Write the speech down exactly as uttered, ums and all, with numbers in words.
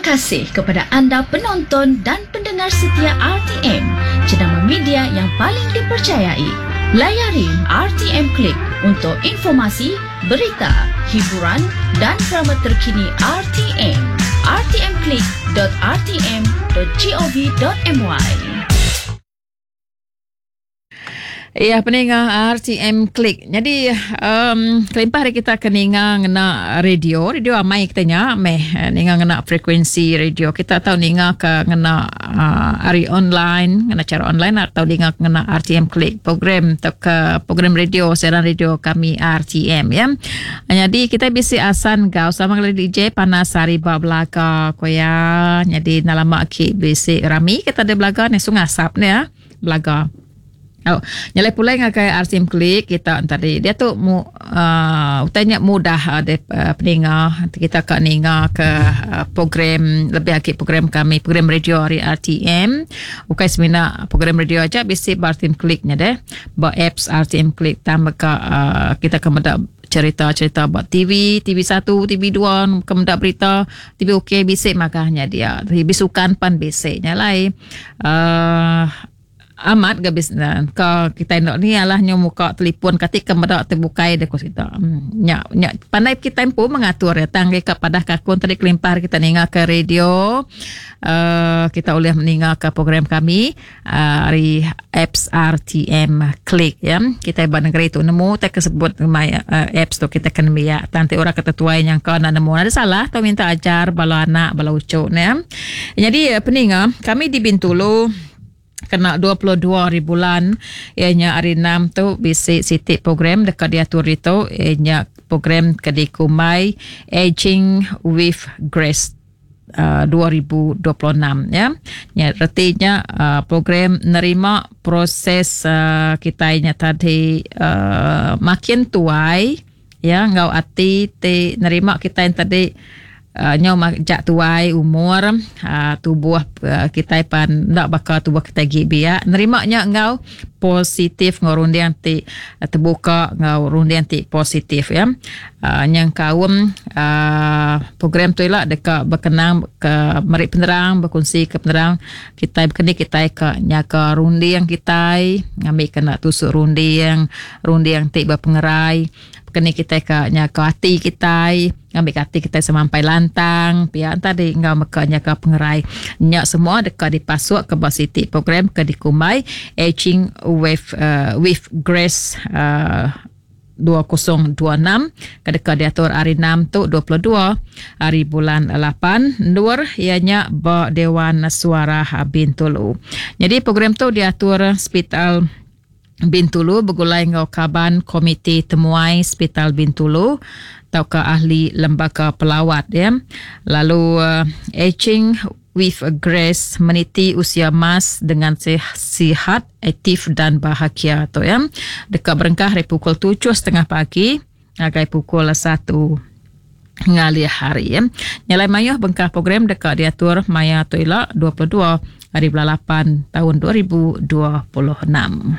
kasih kepada anda penonton dan pendengar setia R T M, jenama media yang paling dipercayai. Layari R T M Klik untuk informasi, berita, hiburan dan drama terkini R T M. R T M klik dot R T M dot G O V dot M Y. Ya, peninga R T M Klik. Jadi, um, kelimpah hari kita keninga ngena radio, radio amai kita nya meh ninga ngena frekuensi radio. Kita tahu ninga ke ngena uh, hari online, ngena cara online atau ninga ngena R T M Klik program atau ke program radio, siaran radio kami R T M ya. Jadi kita bisi asan gau sama kali D J panas hari ba belaga koya. Jadi nalama ki bisi rami kita ada belaga ni sungai asap ni ya, belaga. Oh, nyalai pulai ngagai R T M Klik kita tadi. Dia tu mu, uh, utanya mudah ada uh, peninga kita ka ninga ke uh, program lebih lagi program kami program radio hari R T M. Bukan semina program radio aja bisi R T M Klik nya deh. Ba apps R T M Klik tambah ka uh, kita kemedak cerita-cerita buat T V, T V satu, T V dua, kemendak berita, T V OK bisik makanya dia. T V sukan pan bisik nyalai. Uh, amat gabis na ka kita ndok ni alah nyo muka telefon katik kemedak terbukai dek kita. Hmm, nya nya pandai kita pun mengatur ya tangge ka padah kakun tadi kelimpah kita ninga ke radio uh, kita boleh meninga ke program kami uh, hari apps R T M Klik ya. Kita iban negeri tu nemu tak kesebut my uh, apps tu kita kena biak tante orang kata tuai yang kau nak nemu ada salah atau minta ajar bala anak bala ucuk ne. Jadi peninga kami di Bintulu kena dua puluh dua hari bulan ianya hari enam tu bisi sitik program dekat diatur itu ianya program kedikumai Aging with Grace uh, dua ribu dua puluh enam ya. Ya artinya uh, program nerima proses uh, kita nya tadi uh, makin tuai ya ngau ati te nerima kita yang tadi Uh, nyo jak tuai umur uh, tubuh uh, kita pan ndak bakal tubuh kita gi biak nerima nya ngau positif ngau rundiang ti uh, terbuka ngau rundiang ti positif ya. Uh, nyang kaum uh, program tu lah dekat berkenang ke merik penerang berkongsi ke penerang kita berkeni kita ke nyaka rundiang kita ngambil kena tusuk rundiang rundiang ti berpengerai kena kita ke nyaka hati kita ngambil hati kita semampai lantang pihak tadi ngau meka nyaka pengerai nyak semua dekat dipasuk ke bas siti program ke dikumai Aging with uh, with Grace uh, dua ribu dua puluh enam kedekat diatur hari enam tu dua puluh dua hari bulan lapan nur ianya ba Dewan Suara Bintulu. Jadi program tu diatur Hospital Bintulu bergulai ngau kaban Komiti Temuai Hospital Bintulu atau ke ahli lembaga pelawat ya. Lalu uh, Aging with Grace meniti usia emas dengan sihat, aktif dan bahagia tu ya. Dekat berengkah dari pukul tujuh setengah pagi hingga pukul satu ngalih hari ya. Nyalai mayuh bengkah program dekat diatur maya tu ila dua puluh dua hari bulan lapan tahun dua ribu dua puluh enam.